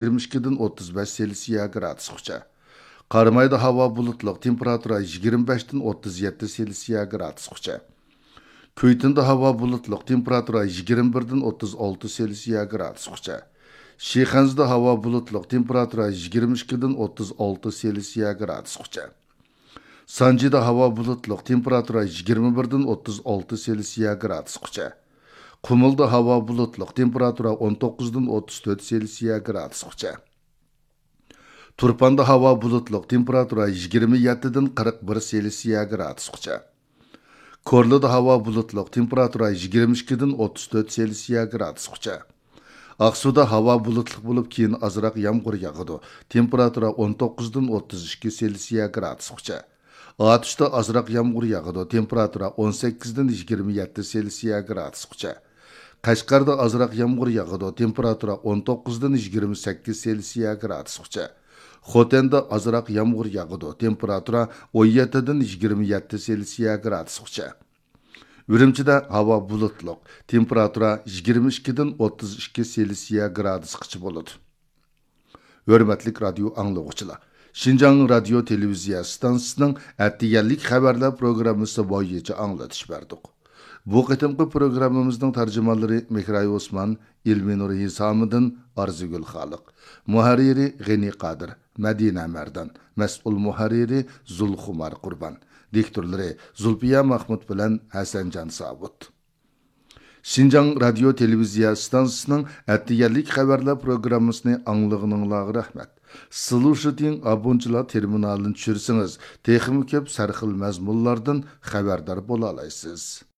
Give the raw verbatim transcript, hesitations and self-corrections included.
يىگىرمە ئىككىدىن ئوتتۇز بەش سېلسىيە گرادۇسقىچە. قارامايدا ھاۋا بۇلۇتلۇق، تېمپېراتۇرا يىگىرمە بەشتىن ئوتتۇز يەتتە سېلسىيە گرادۇسقىچە. كۈيتۇندا ھاۋا بۇلۇتلۇق، تېمپېراتۇرا يىگىرمە بىردىن ئوتتۇز ئالتە سېلسىيە گرادۇسقىچە. شىخەنزىدە ھاۋا بۇلۇتلۇق، تېمپېراتۇرا يىگىرمە ئىككىدىن ئوتتۇز ئالتە سېلسىيە گرادۇسقىچە. سانجىدا ھاۋا بۇلۇتلۇق، تېمپېراتۇرا يىگىرمە بىردىن ئوتتۇز ئالتە سېلسىيە گرادۇسقىچە. قۇمۇلدا ھاۋا بۇلۇتلۇق، تېمپېراتۇرا ئون توققۇزدىن ئوتتۇز تۆت سېلسىيە گرادۇسقىچە. تۇرپاندا ھاۋا بۇلۇتلۇق، تېمپېراتۇرا يىگىرمە يەتتىدىن قىرىق بىر سېلسىيە گرادۇسقىچە. كورلىدا ھاۋا بۇلۇتلۇق، تېمپېراتۇرا يىگىرمە ئىككىدىن ئوتتۇز تۆت سېلسىيە گرادۇسقىچە. ئاقسۇدا ھاۋا بۇلۇتلۇق بولۇپ، كېيىن ئازراق يامغۇر ياغىدۇ. تېمپېراتۇرا ئون توققۇزدىن ئوتتۇز ئىككى سېلسىيە گرادۇسقىچە. ئاتۇشتا ئازراق يامغۇر ياغىدۇ. تېمپېراتۇرا ئون سەككىزدىن يىگىرمە يەتتە سېلسىيە گرادۇسقىچە. قەشقەردە ئازراق يامغۇر ياغىدۇ. تېمپېراتۇرا ئون توققۇزدىن يىگىرمە سەككىز سېلسىيە گرادۇسقىچە. خوتەندە ئازراق يامغۇر ياغىدۇ. تېمپېراتۇرا ئون يەتتىدىن يىگىرمە يەتتە سېلسىيە گرادۇسقىچە. ئۈرۈمچىدە ھاۋا بۇلۇتلۇق، تېمپېراتۇرا يىگىرمە ئىككىدىن ئوتتۇز ئىككى سېلسىيە گرادۇسقىچە بولىدۇ. ھۆرمەتلىك رادىيو ئاڭلىغۇچىلار، شىنجاڭ رادىيو تېلېۋىزىيە ئىستانسىسىنىڭ ئەتىگەنلىك خەۋەرلەر پروگراممىسى بويىچە ئاڭلىتىش بەردۇق. بۇ قېتىمقى پروگراممىمىزنىڭ تەرجىمانلىرى مېھراي ئوسمان، ئىلمىنۇر ھېسامىدىن، ئارزۇگۈل خالىق، مۇھەررىرى غېنى قادىر، مەدىنە مەردان، مەسئۇل مۇھەررىرى زۇلخۇمار قۇربان، دىكتورلىرى زۇلپىيە مەخمۇت بىلەن ھەسەنجان ساۋۇت. شىنجاڭ رادىيو تېلېۋىزىيە ئىستانسىسىنىڭ ئەتىگەنلىك خەۋەرلەر پروگراممىسىنى ئاڭلىغىنىڭلارغا رەھمەت. سلۇشىتىڭ ئابونچىلار تېرمىنالىنى چۈشۈرسىڭىز، تېخىمۇ كۆپ سەرخىل مەزمۇنلاردىن خەۋەردار بولالايسىز.